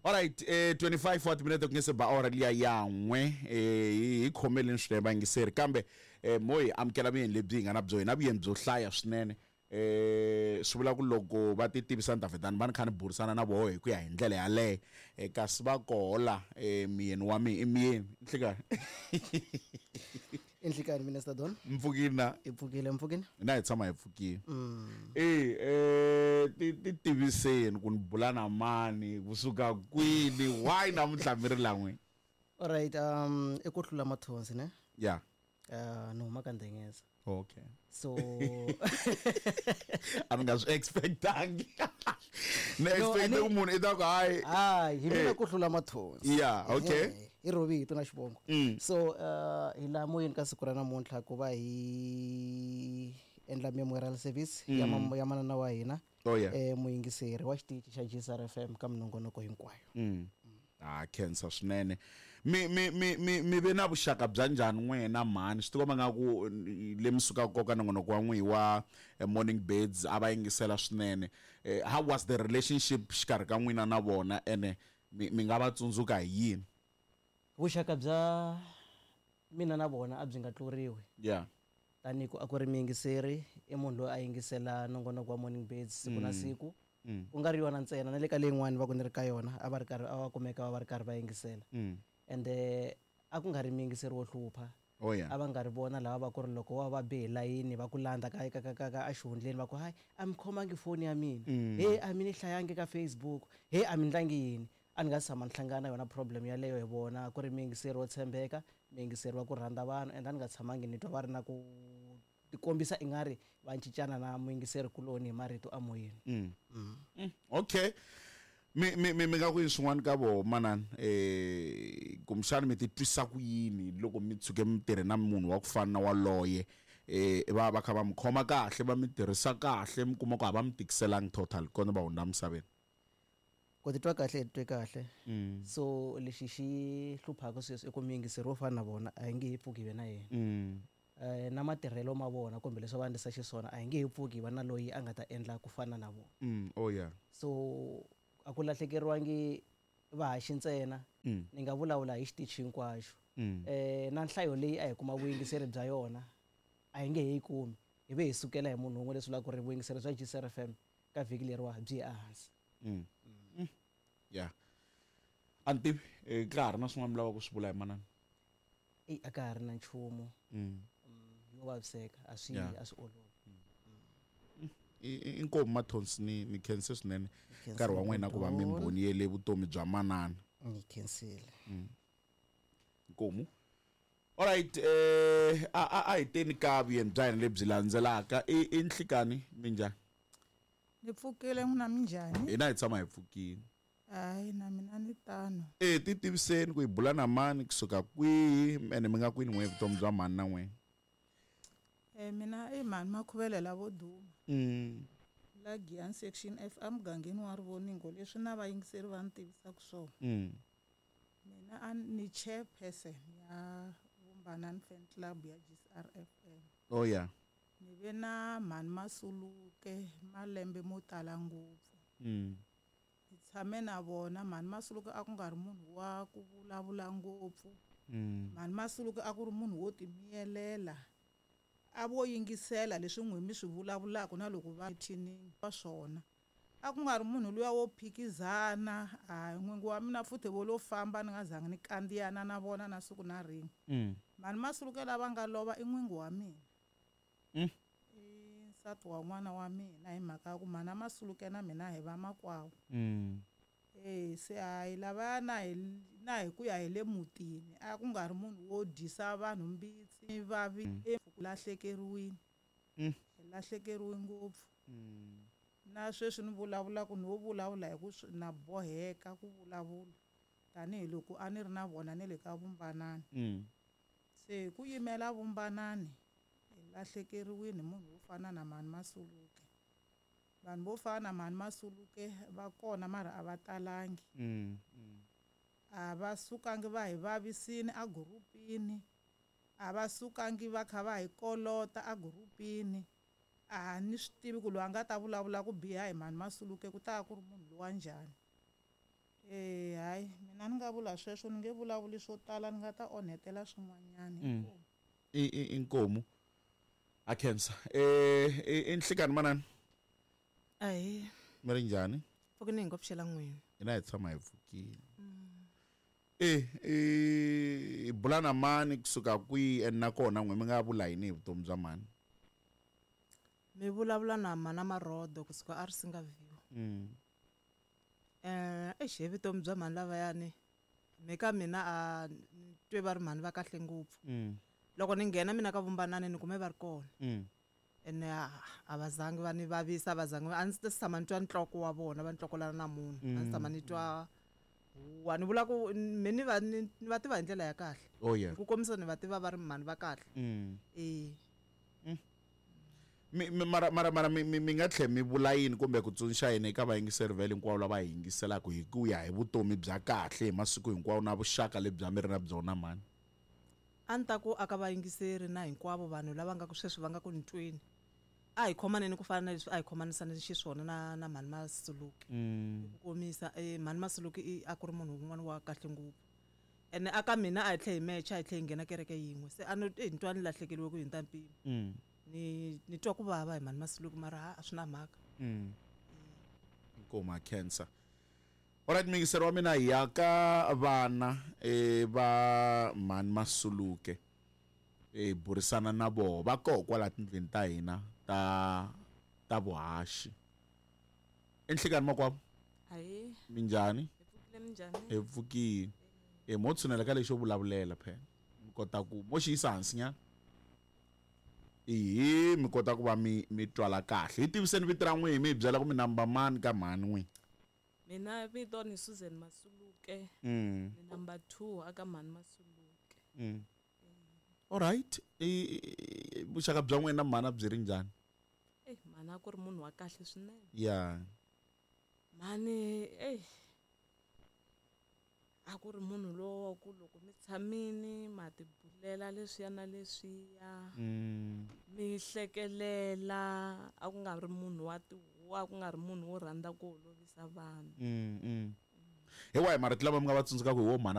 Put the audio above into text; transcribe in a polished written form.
Alright, 25 wa timinete ku nge se ba awara liya ya n'we. Hi khomeleni swinene vayingiseri, kambe mo hi amukela vuyeni lebyi hi nga na byo, hi na vuyeni byo hlaya swinene. Swi vula ku loko va ti tivisa ni ta vheta ni va ni kha ni burisana na voho hi ku ya hi ndlela yaleyo. Kasi va kola miyeni wa mina i miyeni nhlikani. Inhlikani Minister Don. Mpfukile na? Hi pfukile, mpfukile. Na hi tshama hi pfukile. E ti tiviseni ku ni bula na mani, kusuka kwini, why namuntlha mi ri la n'wini? Alright, i ku hlula mathonsi ne? Yeah. Ni huma ka Ndengeza. Okay. So a ni nga swi expectangi. Ni expecte ku munhu i ta ku hayi. Hayi, hi mina ku hlula mathonsi. Yeah, okay. I ro vito na xivongo. So hi laha moyeni ka siku ra namuntlha ku va hi endla memorial service ya ya manana wa hina. Oh, yeah. Muyingiseri wa xitichi xa GCR FM ka minongonoko hinkwayo. Ah, khensa swinene. Mi mi mi mi mi ve na vuxaka bya njhani n'wina mhani? Swi tikomba nga ku le mi sukaka koka nongonoko wa n'wihi wa Morning Birds a va yingisela swinene. How was the relationship xikarhi ka n'wina na vona, ene mi nga va tsundzuka hi yini? Vuxaka bya mina na vona a byi nga tluriwi. Tanihi ku a ku ri muyingiseri, i munhu loyi a yingisela nongonoko wa Morning Birds siku na siku. Ku nga ri yona ntsena, na le ka leyin'wani va ku ni ri ka yona, a va ri karhi, a va kumeka va va ri karhi va yingisela. Ende a ku nga ri muyingiseri wo hlupha. Oh, yeah. A va nga ri vona lava va ku ri loko wa va be hi layini va ku landza ka, ka, ka, ka, ka exihundleni va ku, hayi, a mi khomangi foni ya mina. He, a mi ni hlayangi ka Facebook. He, a mi ndlangi yini. A ni nga si tshama ni hlangana na yona problem yaleyo hi vona. Ku ri muyingiseri wo tshembeka, muyingiseri wa ku rhandza vanhu, and a ni nga tshamangi ni twa va ri na ku tikombisa ingari va cincana na muyingiseri kuloni hi marito emoyeni. Okay. Mi, mi, mi, mi nga ku yini swin'wana ka voho manana? Kumbexana mi titwisa ku yini loko mi tshuke mi tirhe na munhu wa ku fana na waloye? Va va kha va mi khoma kahle, va mi tirhisa kahle, mi kuma ku a va mi tikiselangi total kona va hundza misaveni? Ku titwa kahle hi titwe kahle. So lexi xi hluphaka sweswi i ku muyingiseri wo fana na vona a hi nge he pfuki hi ve na yena. Na matirhelo ma vona kumbe leswi va endlisa xiswona a hi nge he pfuki hi va na loyi a nga ta endla ku fana na vona. Oh yeah. So a ku lahlekeriwangi vahaxi ntsena, ni nga vulavula hi xitichi hinkwaxo. Na nhlayo leyi a hi kuma vuyingiseri bya yona a hi nge he yi kumi, hi ve hi sukela hi munhu wun'we, leswi vulaka ku ri vuyingiseri bya GCR FM ka vhiki leriwa byi ye ehansi. Yeah. A ni tivi, ka ha ri na swin'wana mi lavaka ku swi vula hi manana? Eyi, a ka ha ri na nchumu. Yo vaviseka, a swi a swi olovi. Inkomu Mathonsi, ni khense swinene nkarhi wa n'wina ku va mi mbhoniyele vutomi bya manana. Ni khensile. Inkomu. Alright, a hi teni ka vuyeni bya hina lebyi landzelaka. I Nhlikani, minjhani? Ni pfukile n'wina minjhani? Hina hi tshama hi pfukile. Hayi, na mina ni tano. Ti tiviseni ku hi bula na mani kusuka kwihi, ene mi nga kwini n'we vutomi bya mhani na n'we? Mina i mhani Makhuvele lavo duma. La Giyani Section F emugangeni wa Rivoningo, leswi na vayingiseri va ni tivisaka swona. Mina a ni chairperson ya Vumbanani Fan Club ya GCR FM. Oh yeah. Ni ve na mhani Masuluke malembe mo tala ngopfu. Ni tshame na vona. Mhani Masuluke a ku nga ri munhu wa ku vulavula ngopfu. Mhani Masuluke a ku ri munhu wo timiyelela. A vo yingisela leswi n'wi mi swi vulavulaka na loko va thinini wa swona. A ku nga ri munhu luya wo phikizana. Hayi, n'wingi wa mina futhi vo lo famba ni nga zangi ni kandziyana na vona na siku na rin'we. Mhani Masuluke lava nga lova i n'wingi wa mina. I nsati wa n'wana wa mina hi mhaka ya ku mhana Masuluke na mina hi vamakwavo. Se hayi lavaya na hi na hi ku ya hi le mutini a ku nga ri munhu wo dyisa vanhu mbitsi vavi lahlekeriwile. Hi lahlekeriwe ngopfu. Na sweswi ni vulavulaka ni wo vulavula hi ku na boheka ku vulavula tanihiloko a ni ri na vona ni le ka Vumbanani. Se hi ku yimela Vumbanani hi lahlekeriwile hi munhu wo fana na Mhani Masuluke. Vanhu vo fana na Mhani Masuluke va kona mara a va talangi. A va sukangi va hi vavisini a gurupini, a va sukangi va kha va hi kolota a gurupini. A ni swi tivi ku loyi a nga ta vulavula ku biha hi Mhani Masuluke ku ta va ku ri munhu lowa njhani. Eh hayi mina ni nga vula sweswo ni nge vulavuli swo tala ni nga ta onhetela swin'wanyana. I inkomu. A khensa. I nhlikani manana. Ahee. Mi ri njhani? Pfukini hi ngo pfuxela n'wini. Hina hi tshama hi pfukile. I bula na mani kusuka kwihi and nakona n'we mi nga vula yini hi vutomi bya mani? Mi vulavula na mana Marodo kusuka a Risinga View. Eish hi vutomi bya mhani lavayani me ka mina a ni twe va ri mhani va kahle ngopfu. Loko ni nghena mina ka Vumbanani ni kume va ri kona. Ene a va zangi va ni vavisa, a va zangi a ndzi tshama ni twa ntloko wa vona va ntlokolana na munhu. A ndzi tshama ni twa huwa ni vula ku me ni va ni va tiva hi ndlela ya kahle. Oh yeah. Hi ku komisa ni va tiva va ri mhani va kahle. Mara mara mara mi mi nga tlhe mi vula yini kumbe ku tsundzuxa yini eka vayingiseri vhele hinkwavo lava hi yingiselaka hi ku ya hi vutomi bya kahle hi masiku hinkwawo na vuxaka lebyi a mi ri na byona mhani? A ni ta ku aka vayingiseri na hinkwavo vanhu lava nga ku sweswi va nga ku ni tweni, a hi khomaneni ku fana na leswi a hi khomanisane xiswona na na mhani Masuluke. Hi ku komisa mhani Masuluke i a ku ri munhu wun'wana wa kahle ngopfu. Ene aka mina a hi tlhe hi mecha, a hi tlhe hi nghena kereke yin'we. Se a no ni twa ni lahlekeriwe ku hundza mpimo. Ni twa ku vava hi mhani Masuluke mara ha a swi na mhaka. Inkomu a khensa. Alright muyingiseri wa mina hi ya ka vana va mhani Masuluke hi burisana na voho va koho kwala tindlwini ta hina ta ta vuhaxi. Enhlekani makwavo? Ahee. Minjhani? Hi pfukile minjhani? Hi pfukile. Mo tshunela ka lexo vulavulela phela. Mi kota ku mo xi yisa hansi nyana. Ihi mi kota ku va mi mi twala kahle. Hi tiviseni vito ra n'wina mi hi byela ku mi namba mani ka mhani n'wina. Mina vito ni Susan Masuluke. Ni number 2 aka mhani Masuluke. Alright. Vuxaka bya n'wina na mhani byi ri njhani? Mhani a ku ri munhu wa kahle swinene. Yeah. Mhani a ku ri munhu lowa ku loko mi tshamini ma tibulela leswiya na leswiya. Mi hlekelela, a ku nga ri munhu wa tihuwa, a ku nga ri munhu wo rhandza ku holovisa vanhu. Hi wahi marito lama mi nga va tsundzukaka hi wo mhana